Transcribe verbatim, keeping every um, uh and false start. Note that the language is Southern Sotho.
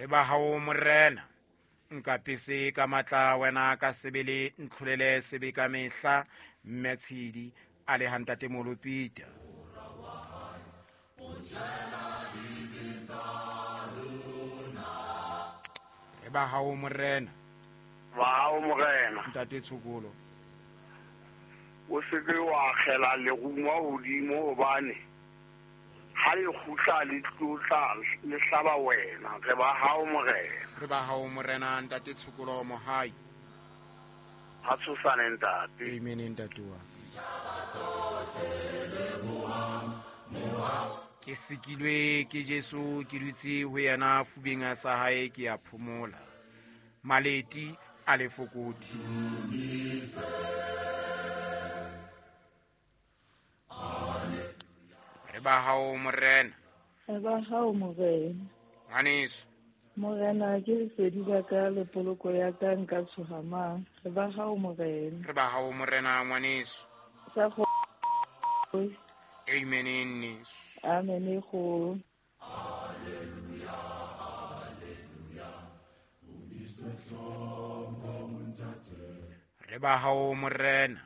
Re ba hao morena. Nkapese ka matla wena ka sebele ntlholele sebe ka mehla mme Tshidi a le hantate Molopita. Re ba hao morena. Ba hao morena. Ntate Tshokolo. O se ke wa akgela lerumo hodimo hobane ha le kgutla le tlotla le hlaba wena. Re ba hao morena. Re ba hao morena ntate Tshokolo Mohai. Ha tshosane ntate. Amen ntate wa. Ke sikilwe ke Jesu ke dutse ho yena fubeng sa hae ke ya phomola. Maleti a le fokodi. Re ba hao morena. Re ba hao morena. Ngwaneso. Morena ke lesedi la ka le poloko ya ka nka tshoha mang. Re ba hao morena. Re ba hao morena ngwaneso. Sa go. Amen nneso. Amen go. Re ba hao morena.